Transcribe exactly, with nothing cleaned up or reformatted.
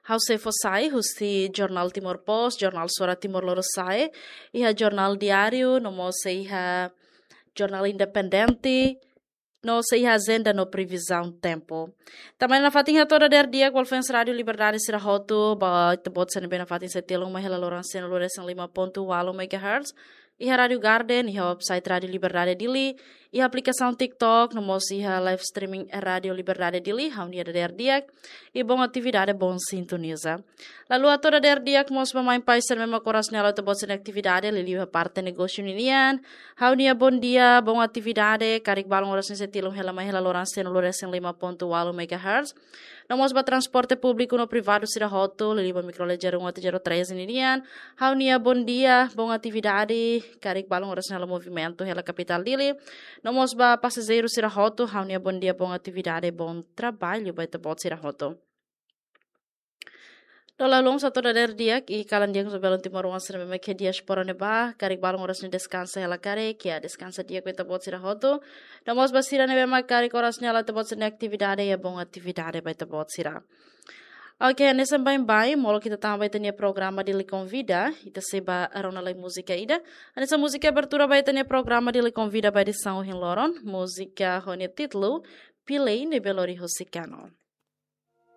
ha'u sei fó sai husi Jornál Timor Post, Jornál Suara Timor Lorosa'e, iha Jornál Diáriu, no mós sei iha Jornál Independente, no sei iha Ajenda no Previzaun Tempu. Tanba ne'e nafatin hato'o dadeer di'ak ba fans Rádiu Liberdade sira hotu, ba ita-boot sira ne'ebé nafatin sei tilun mai hela loron sanulu-resin-lima pontu ualu megahertz, iha Rádiu Garden, iha website Rádiu Liberdade Dili, iha aplikasaun TikTok, no mós iha live streaming Rádiu Liberdade Dili, ha'u-nia dadeer di'ak, i bom atividade, bom sintoniza. Lalu hato'o dadeer di'ak mós ba mãe pai sira ne'ebé mak oras ne'e halo ita-boot sira-nia atividade, liuliu iha parte negósiu ninian, ha'u-nia bom dia, bom atividade, karik balun oras ne'e sei tilun hela mai hela loron sanulu-resin-lima pontu ualu megahertz. No mós ba transporte públiku no privadu sira hotu, liuliu ba micro ledger um até zero três ninian, ha'u-nia bom dia, bom atividade, karik balun oras ne'e halo movimentu hela kapitál Dili. No mós ba pasajeiru sira hotu, ha'u-nia bom dia, bom atividade, bom trabalho ba ita-boot sira hotu. No lalun hato'o dadeer di'ak i kalan di'ak ba belun timoroan sira ne'ebé mak iha diáspora ne'ebá, karik balun oras ne'e deskansa hela karik, ya deskansa di'ak ba ita-boot sira hotu. No mós ba sira ne'ebé mak karik oras ne'e halo ita-boot sira-nia atividade, ya bom atividade ba ita-boot sira. Oke, hanesan baibain, molok ita tama ba ita-nia programa Dili Konvida, ita sei ba rona lai múzika ida. Hanesan múzika abertura ba ita-nia programa Dili Konvida ba edisaun ohin loron, múzika ho nia títulu Pilei ne'ebé lori husi Kano.